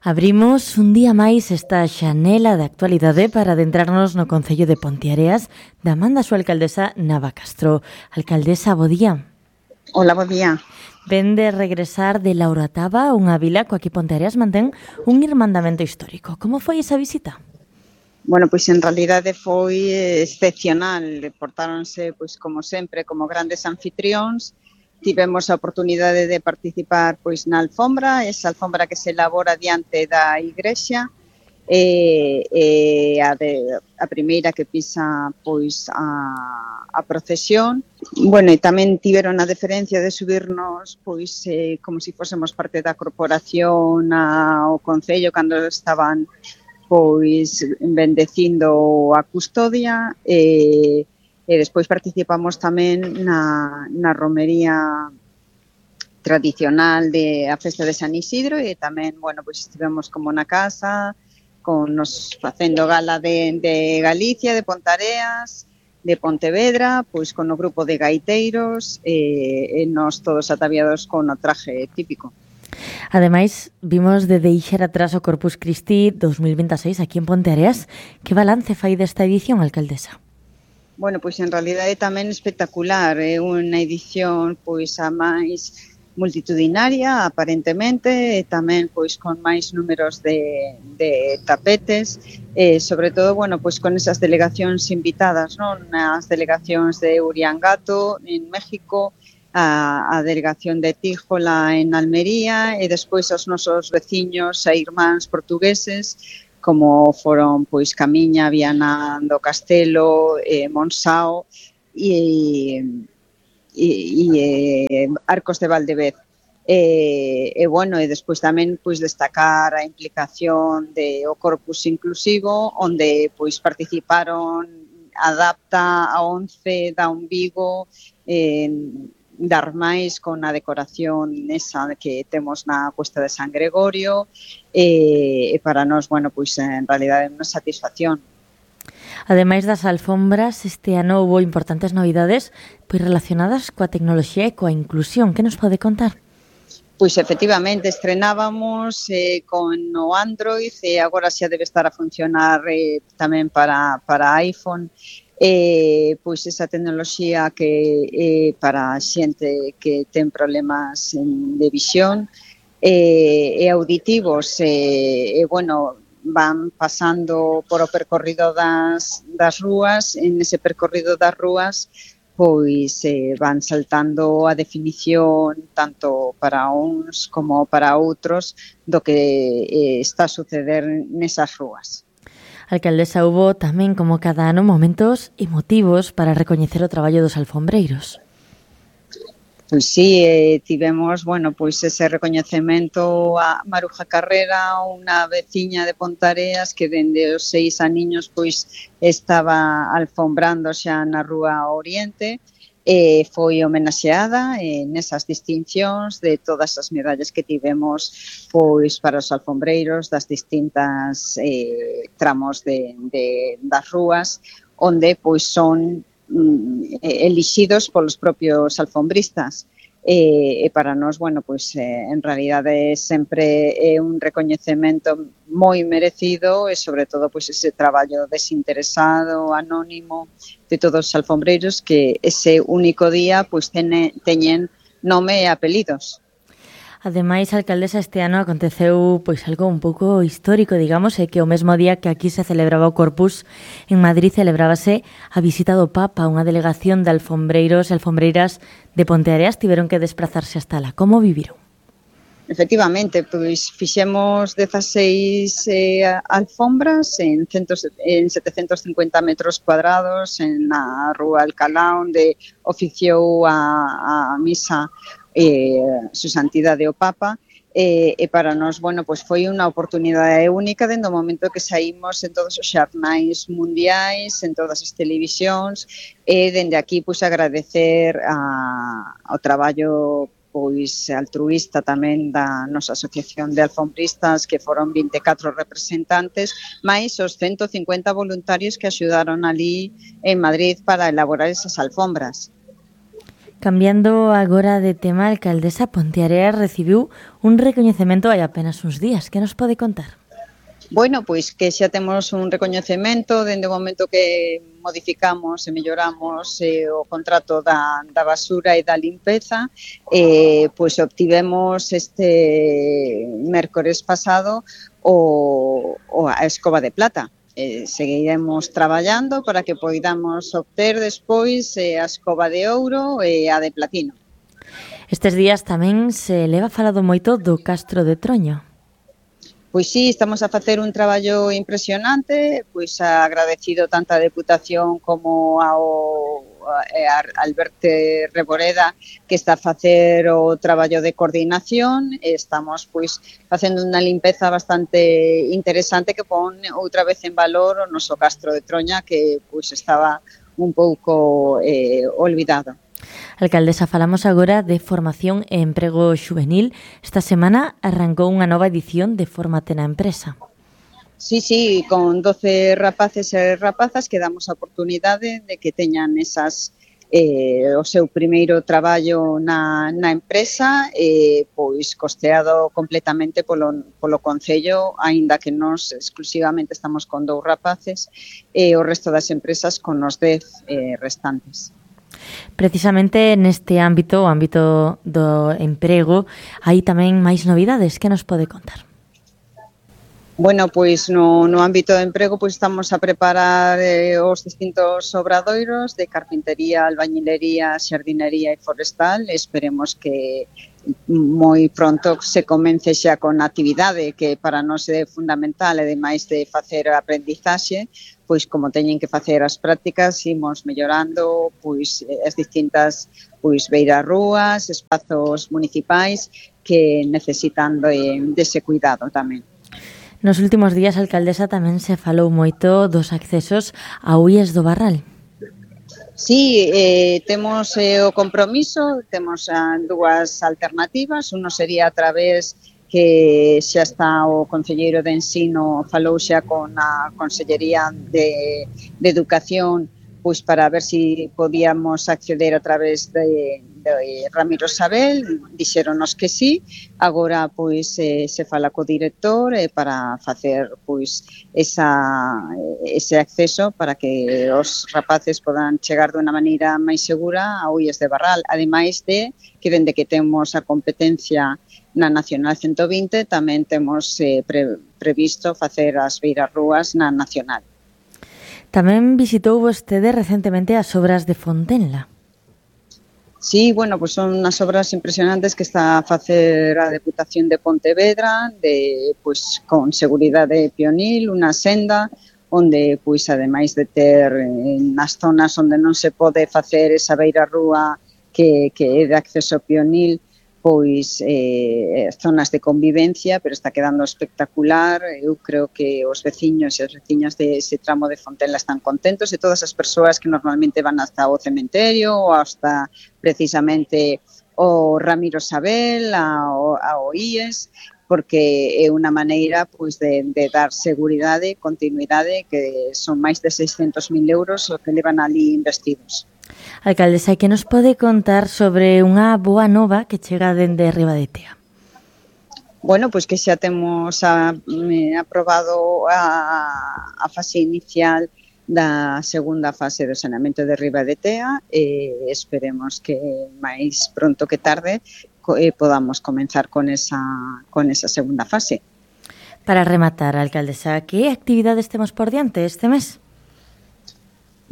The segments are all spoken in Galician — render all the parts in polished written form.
Abrimos un día máis esta xanela de actualidade para adentrarnos no Concello de Ponteareas da man da súa alcaldesa Nava Castro. Alcaldesa, bo día. Hola, bo día. Ven de regresar de La Orotava, unha vila coa que Ponteareas mantén un irmandamento histórico. Como foi esa visita? Bueno, pois en realidade foi excepcional. Portáronse, pois como sempre, como grandes anfitrións. Tivemos a oportunidade de participar pois na alfombra, esa alfombra que se elabora diante da igrexa, a primeira que pisa pois a procesión. Bueno, e tamén tiveron a deferencia de subirnos pois como se fósemos parte da corporación ao Concello cando estaban pois bendecindo a custodia e despois participamos tamén na romería tradicional de a festa de San Isidro e tamén, bueno, pois estivemos como na casa con nos facendo gala de Galicia, de Ponteareas, de Pontevedra, pois con o grupo de gaiteiros e nos todos ataviados con o traje típico. Ademais, vimos de deixar atrás o Corpus Christi 2026 aquí en Ponteareas. Que balance fai desta edición, alcaldesa? Bueno, pois en realidade tamén espectacular. É unha edición pois a máis multitudinaria, aparentemente, e tamén pois con máis números de tapetes, e sobre todo, bueno, pois con esas delegacións invitadas, non? As delegacións de Uriangato en México, a delegación de Tíjola en Almería e despois os nosos veciños e irmáns portugueses como foron pois Camiña, Viana do Castelo, Monsao e Arcos de Valdevez. Bueno, e despois tamén pois destacar a implicación de o Corpus Inclusivo, onde pois participaron Adapta, a ONCE, da Vigo, da Armais con a decoración esa que temos na Cuesta de San Gregorio e para nós, bueno, pois en realidade é unha satisfacción. Ademais das alfombras, este ano houve importantes novidades pois relacionadas coa tecnoloxía e coa inclusión. Que nos pode contar? Pois efectivamente estrenábamos con o Android e agora xa debe estar a funcionar tamén para iPhone. Pois esa tecnoloxía que para a xente que ten problemas de visión e auditivos bueno, van pasando por o percorrido das rúas, en ese percorrido das rúas pois van saltando a definición tanto para uns como para outros do que está a suceder nesas rúas. Alcaldesa, hubo tamén, como cada ano, momentos emotivos para recoñecer o traballo dos alfombreiros. Pois sí, tivemos, bueno, pois ese recoñecemento a Maruja Carrera, unha veciña de Ponteareas que dende os 6 aniños pois estaba alfombrando xa na Rúa Oriente e foi homenaxeada nesas distincións de todas as medallas que tivemos pois para os alfombreiros das distintas tramos das rúas onde pois son elixidos polos propios alfombristas e para nós, bueno, pois en realidade sempre é un recoñecemento moi merecido e sobre todo pois ese traballo desinteresado, anónimo de todos os alfombreiros que ese único día pois teñen nome e apelidos. Ademais, alcaldesa, este ano aconteceu pois algo un pouco histórico, digamos, é que o mesmo día que aquí se celebraba o Corpus, en Madrid celebrábase a visita do Papa. Unha delegación de alfombreiros e alfombreiras de Ponteareas tiveron que desplazarse hasta lá. Como viviron? Efectivamente, pois fixemos 16 alfombras en 750 metros cuadrados en a Rúa Alcalá, onde oficiou a misa su santidade o Papa e para nós, bueno, pois foi unha oportunidade única dende o momento que saímos en todos os xornais mundiais, en todas as televisións e dende aquí pois agradecer ao traballo pois altruísta tamén da nosa asociación de alfombristas que foron 24 representantes máis os 150 voluntarios que axudaron ali en Madrid para elaborar esas alfombras. Cambiando agora de tema, a alcaldesa Ponteareas recibiu un recoñecemento hai apenas uns días. Que nos pode contar? Bueno, pois que xa temos un recoñecemento dende o momento que modificamos e melloramos o contrato da basura e da limpeza, pois obtivemos este mércores pasado a escoba de plata. Seguiremos traballando para que poidamos obter despois a escoba de ouro e a de platino. Estes días tamén se leva falado moito do Castro de Troño. Pois sí, estamos a facer un traballo impresionante, pois agradecido tanto a Deputación como ao Alberto Reboreda, que está a facer o traballo de coordinación. Estamos pois facendo unha limpeza bastante interesante que pon outra vez en valor o noso Castro de Troña, que pois estaba un pouco olvidado. Alcaldesa, falamos agora de formación e emprego xuvenil. Esta semana arrancou unha nova edición de Fórmate na Empresa. Sí, con 12 rapaces e rapazas que damos a oportunidade de que teñan o seu primeiro traballo na empresa, pois costeado completamente polo Concello, aínda que nós exclusivamente estamos con 2 rapaces e o resto das empresas con os 10 restantes. Precisamente neste ámbito, o ámbito do emprego, hai tamén máis novidades. Que nos pode contar? Bueno, pois no ámbito do emprego pois estamos a preparar os distintos obradoiros de carpintería, albañilería, xardinería e forestal. Esperemos que moi pronto se comence xa con a actividade que para nós é fundamental, e ademais de facer a aprendizaxe, pois como teñen que facer as prácticas, imos mellorando pois as distintas beirarrúas, espazos municipais que necesitan dese cuidado tamén. Nos últimos días, alcaldesa, tamén se falou moito dos accesos a UIES do Barral. Sí, temos o compromiso, temos 2 alternativas. Uno sería a través que xa está o Concelleiro de Ensino, falou xa con a Consellería de Educación, pois para ver se podíamos acceder a través de Ramiro Sabel. Dixéronos que sí. Agora pois se fala co director para facer pois ese acceso para que os rapaces podan chegar de unha maneira máis segura a UIES de Barral, ademais de que dende que temos a competencia na Nacional 120 tamén temos previsto facer as beirarrúas na Nacional. Tamén visitou vostede recentemente as obras de Fontenla. Sí, bueno, pues son unhas obras impresionantes que está a facer a Deputación de Pontevedra, con seguridade pionil, unha senda onde, pois, ademais de ter nas zonas onde non se pode facer esa beirarrúa que é de acceso pionil, pois zonas de convivencia, pero está quedando espectacular. Eu creo que os veciños e as veciñas de ese tramo de Fontenla están contentos, e todas as persoas que normalmente van hasta o cementerio ou hasta precisamente o Ramiro Sabel, ao IES, porque é unha maneira pois de dar seguridade e continuidade, que son máis de 600.000 euros o que levan ali investidos. Alcaldesa, que nos pode contar sobre unha boa nova que chega dende Ribadetea? Bueno, pois que xa temos aprobado a fase inicial da segunda fase do saneamento de Ribadetea, e esperemos que máis pronto que tarde podamos comenzar con esa segunda fase. Para rematar, alcaldesa, que actividades temos por diante este mes?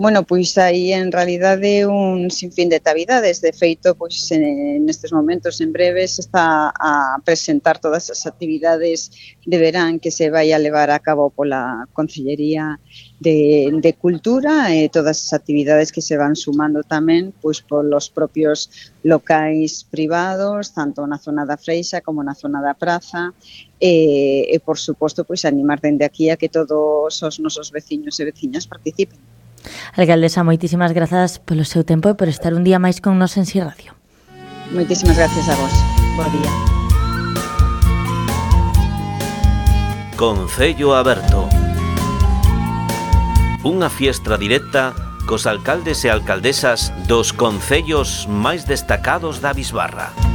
Bueno, pois aí en realidade un sinfín de actividades. De feito, pois nestes momentos en breve se está a presentar todas as actividades de verán que se vai a levar a cabo pola Consellería de Cultura, e todas as actividades que se van sumando tamén pois polos propios locais privados, tanto na zona da Freixa como na zona da Praza, e por suposto pois animar dende aquí a que todos os nosos veciños e veciñas participen. Alcaldesa, moitísimas grazas polo seu tempo e por estar un día máis con nos en Si Radio. Moitísimas gracias a vos. Bo día. Concello Aberto. Unha fiestra directa cos alcaldes e alcaldesas dos concellos máis destacados da Bisbarra.